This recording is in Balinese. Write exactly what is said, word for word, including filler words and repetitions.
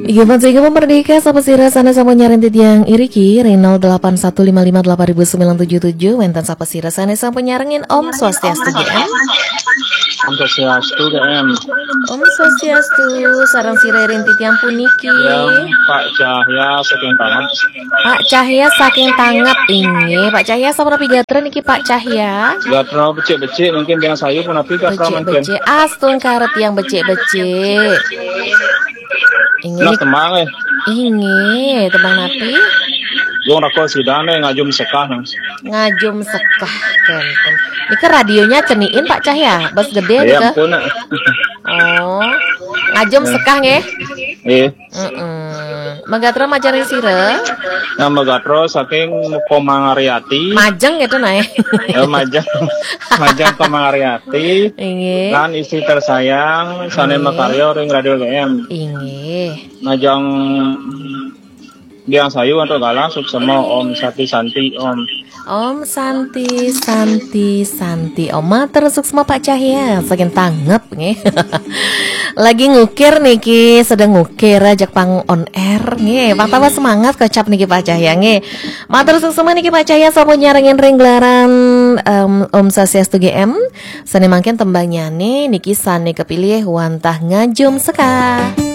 Inggih, Merdeka, sapa sira sané sampun nyarengin titiang iriki ring nol delapan satu lima lima delapan ribu sembilan tujuh tujuh, wénten sapa sira sané sampun nyarengin? Om Swastiastu, G M. Om Swastiastu, G M. Om Swastiastu, sareng sira ring titiang puniki. Ya, Pak Cahya saking Tanget. Pak Cahya saking Tanget, inggih. Pak Cahya sapunapi gatra niki, Pak Cahya? Gatra becik-becik, mungkin tiang sayu punapi gatra mungkin. Becik-becik, astungkara tiang becik-becik. Inggih, Nah, nik- tembang eh. Inggih, tembang napi? Wong raka sidané ngajum sekah nang. Ngajum sekah, kénten. Nika radionya ceniin, Pak Cahya, bas gedé Ya nika. Ampun, nak. Oh, ngajum sekah nggih. Eh, Heeh. Magatra majeng ring sira? Nama gatra saking Komang Ariati. Majeng gitu nah. Eh, majeng. Majeng Komang Ariati. Inggih. Lan istri tersayang sané Inggih. Makarya ring Radio G M. Inggih. Majeng tiang sayu antuk galah suksma, Om Santi Santi Om. Om Santi Santi Santi Om. Matur suksma, Pak Cahya saking Tanget nggih. Lagi ngukir niki, sedang ngukir ajak pang on air nggih. Pang tambah semangat kocap niki, Pak Cahya nggih. Matur suksma niki, Pak Cahya, sampun nyarengin ring gelaran, em, Om Swastiastu, G M. Sané mangkin tembangnyané niki sané kepilih wantah ngajum sekah.